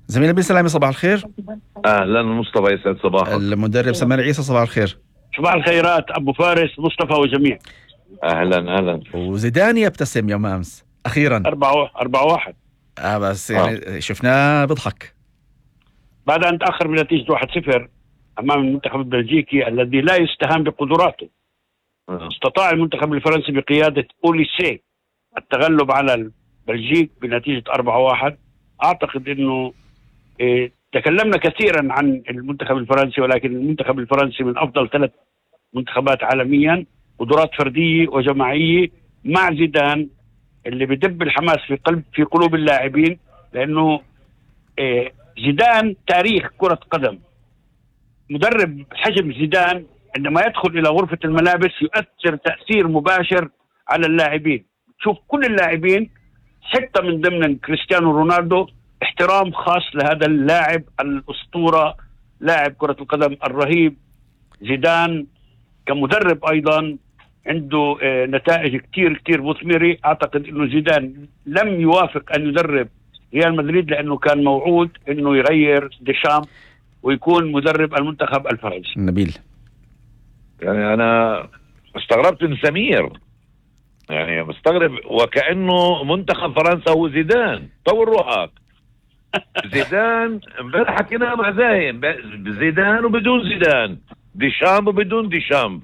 زميل نبيل سلامي صباح الخير. اهلا مصطفى، يسعد صباحك. المدرب سمير عيسى صباح الخير. صباح الخيرات ابو فارس مصطفى وجميع. اهلا. وزيدان يبتسم يوم امس اخيرا 4-1 بس يعني شفناه بيضحك بعد ان تاخر بنتيجه 1-0 امام المنتخب البلجيكي الذي لا يستهان بقدراته. استطاع المنتخب الفرنسي بقياده أوليسيه التغلب على البلجيك بنتيجه 4-1. اعتقد انه تكلمنا كثيرا عن المنتخب الفرنسي، ولكن المنتخب الفرنسي من افضل 3 منتخبات عالميا، قدرات فرديه وجماعيه مع زيدان اللي بدب الحماس في قلوب اللاعبين، لانه زيدان تاريخ كرة قدم. مدرب حجم زيدان عندما يدخل الى غرفة الملابس يؤثر تأثير مباشر على اللاعبين. شوف كل اللاعبين حتى من ضمن كريستيانو رونالدو احترام خاص لهذا اللاعب الأسطورة، لاعب كرة القدم الرهيب. زيدان كمدرب أيضا عنده نتائج كتير مثمرة. أعتقد أنه زيدان لم يوافق أن يدرب ريال مدريد لأنه كان موعود أنه يغير ديشام ويكون مدرب المنتخب الفرنسي. نبيل يعني أنا استغربت من سمير، يعني مستغرب وكأنه منتخب فرنسا هو زيدان. طور روحك. زيدان امبارح حكينا مع زاين، زيدان وبدون زيدان، ديشامب وبدون ديشامب،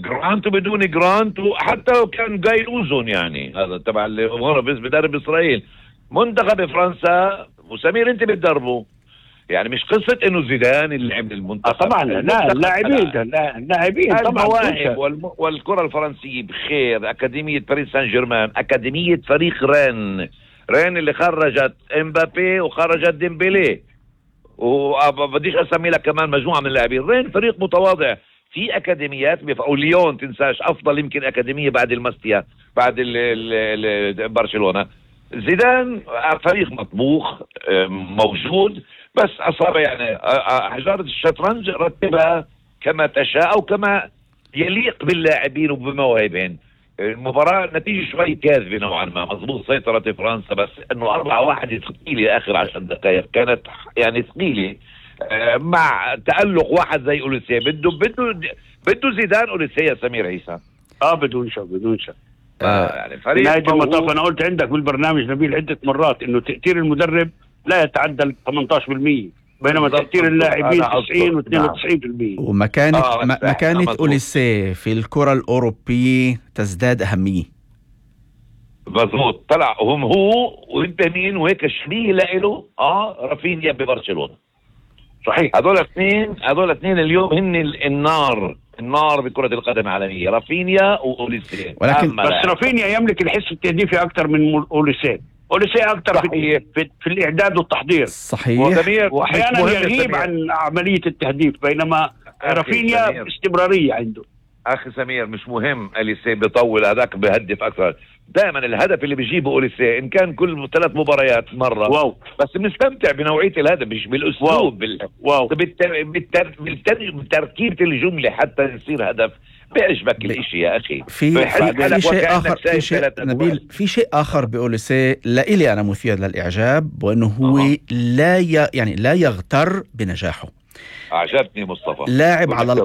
جرانت وبدون جرانت، وحتى لو كان جاي اوزون يعني هذا تبع اللي هو بدرب اسرائيل. منتخب فرنسا وسمير انت بتدربه، يعني مش قصه انه زيدان اللي لعب المنتخب. طبعا لا، اللاعبين طبعا. المواهب والكره الفرنسيه بخير. اكاديميه باريس سان جيرمان، اكاديميه فريق رين اللي خرجت امبابي وخرجت ديمبلي، وبديش اسمي لك كمان مجموعه من اللاعبين. رين فريق متواضع في اكاديميات وليون تنساش افضل يمكن اكاديميه بعد الماستيا بعد برشلونه. زيدان فريق مطبوخ موجود، بس اصاب يعني حجاره الشطرنج رتبها كما تشاء او كما يليق باللاعبين وبمواهبهم. المباراة نتيجة شوي كاذبة نوعا ما، مضبوط سيطرة فرنسا، بس انه 4-1 ثقيلة اخر 10 دقائق كانت يعني ثقيلة، مع تألق واحد زي أوليسيه. بده زيدان أوليسيه يا سمير عيسى. بدون شك يعني فريق نهاية المطاف. انا قلت عندك بالبرنامج نبيل عدة مرات انه تأثير المدرب لا يتعدى 18%، بينما تأثير اللاعبين 90 و92%. ومكانة أوليسيه في الكرة الأوروبية تزداد أهمية. مظبوط. طلع هو وانت مين وهيك شبيه له رافينيا ببرشلونة. صحيح. هذول اثنين اليوم هن النار بكرة القدم العالمية، رافينيا وأوليسيه. ولكن بس رافينيا يملك الحس التهديفي أكثر من أوليسيه أكثر في الإعداد والتحضير. صحيح. وأحيانا يغيب عن عملية التهديف، بينما رافينيا استمرارية عنده. أخي سمير مش مهم أوليسيه بيطول، هذاك بيهدف أكثر. دائما الهدف اللي بيجيبه أوليسيه إن كان كل 3 مباريات مرة بس بنستمتع بنوعية الهدف، مش بالأسلوب بتركيبة الجملة حتى يصير هدف. بيعجبك الاشي يا أخي. في شيء آخر نبيل، في شيء آخر بأوليسيه لإلي أنا مثير للإعجاب، وأنه هو لا يغتر بنجاحه. أعجبني مصطفى، لاعب على